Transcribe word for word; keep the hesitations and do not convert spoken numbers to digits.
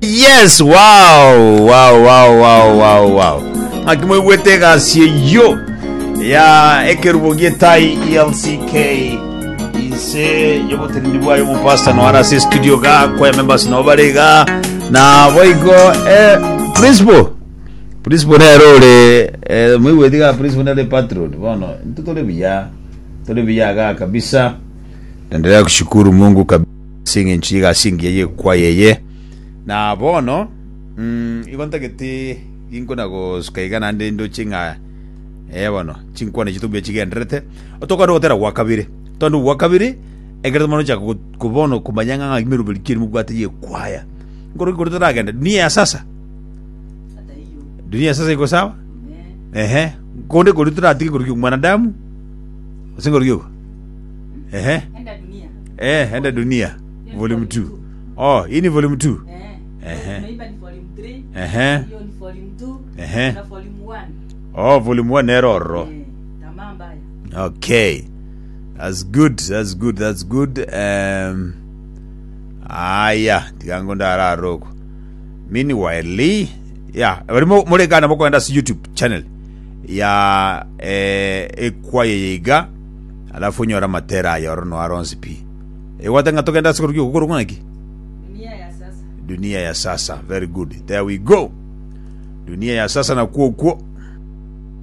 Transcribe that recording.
Yes, wow, wow, wow, wow, wow, wow. Ng'aki moigwete egasi eyio ya ekerubo gietai E L C K inse y'oboteneni bwayo omopasta noara ase studio ga kwaya members nabo bare iga na boigo eh, principal principal nero ore eh, moigwete iga principal nere patron. Bono intwe tore buya, tore buya iga kabisa. Endelea kushukuru Mungu kabisa eng'encho y'egasi engiya y'ekwaya eye. Na bono mm, igo ntagete ginkona gosuka iga naende ndoche ng'a eh bono chinkwana echi tobuya chigendererete otokande gotera gwa kabere tonde gwa kabere ekero tomana gochaka go- bono komanya ng'a ng'aki meroberi ki eri mobwate y'ekwaya nkoro nkoro toragenda dunia ya sasa. Dunia ya sasa iko sawa. Ehe, konde kori toratige kori mwanadamu ase nkoro gioko ehe. Enda Dunia. Eh, Enda Dunia volume two. Oh, hii ni volume two. Eh. Ehe. Tumeimba ni volume three. Ehe. Hiyo ni volume two. Ehe. Na volume one. Oh, volume one nero ororo. Eh, tamaa mbaya. Okay, that's good, that's good, that's good. um, aya tigango ndararoko. Meanwhile, yeah, bari morekana mokoenda ase YouTube channel ya eh, ekwaya yeiga alafu onyore amatera aya oro noaro onsi pi egwate ng'a togenda ase korokio gokorokwa ng'aki? Dunia ya Sasa. Dunia ya Sasa, very good. There we go, Dunia ya Sasa. Nakwo okwo